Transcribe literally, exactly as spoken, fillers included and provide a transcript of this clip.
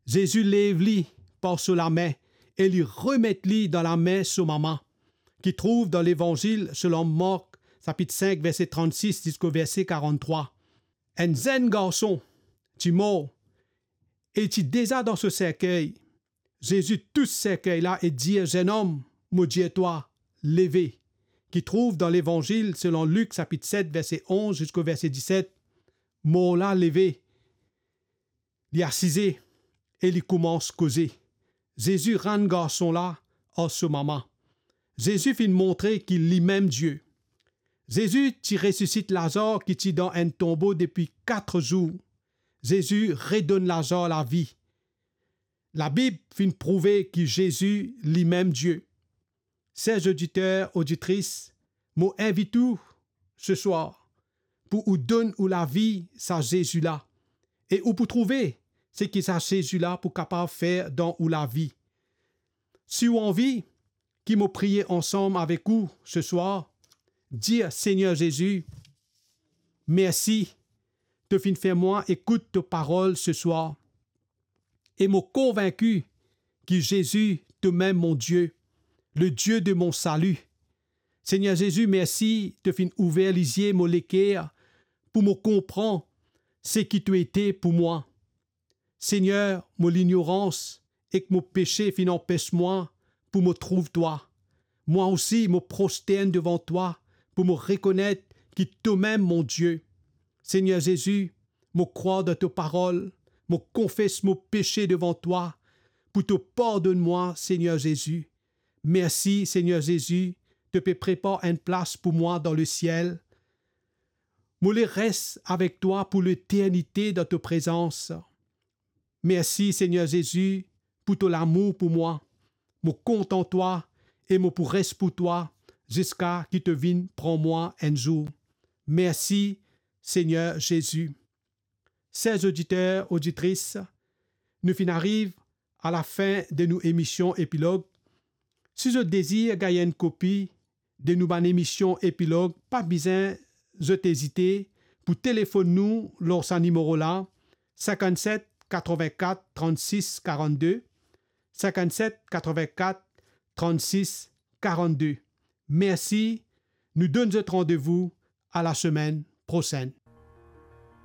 Zezi lev li par so lame e li remet li dan lame so mama, ki trouv dan Levanzil selon Mark, sapit sink, verse trannsis ziska verse karann-trwa. Enn zenn garson ti mor e ti deza dan so serkey. Zezi tous serkey la e dir, "Zennom, mo dir twa, leve." Ki trouv dan Levanzil selon Lik, sapit set, verse onz ziska verse diset. Mor la leve, li asize e li koumans koze. Zezi rann garson la ar so mama. Zezi finn montre ki limem Die. Zezi ti resisit Lazar ki ti dan enn tonbo depi kat zour. Zezi redonn Lazar lavi. Labib finn prouve ki Zezi limem Die. Ser oditer, oditris, mo invit ou seswar pou ou donn ou lavi sa Zezi la, e ou pou trouve seki sa Zezi la pou kapav fer dan ou lavi. Si ou anvi ki mo priye ansam avek ou seswar, dir, "Segner Zezi, mersi, to finn fer mwa ekout to parol seswar. E mo konvinki ki Zezi, tomem mo Die, le Die de mon sali. Segner Zezi, mersi, to finn ouver lizie mo leker pou mo konpran seki to ete pou mwa. Segner, mo lignorans ek mo pese finn anpes mwa pou mo trouv twa. Mwa osi, mo prostern devan twa pou mo rekonet ki tomem mo Die. Segner Zezi, mo krwar dan to parol, mo konfes mo pese devan twa pou to pardonn mwa, Segner Zezi. Mersi, Segner Zezi, to pe prepar enn plas pou mwa dan lesiel. Mo le res avek twa pou leternite dan to prezans. Mersi, Segner Zezi, pou to lamour pou mwa. Mo kontan twa e mo pou res pou twa ziska ki to vinn pran mwa enn zour. Mersi, Segner Zezi." Ser oditer, oditris, nou finn ariv a lafin de nou emision Epilog. Si zot dezir gagn enn kopi de nou bann emision Epilog, pa bizin zot ezite pou telefonn nou lor sa nimero la, sinkant-set katrovin-kat trannsis karann-de, sinkant-set katrovin-kat trannsis karann-de. Mersi, nou donn zot randevou a lasemenn prosenn.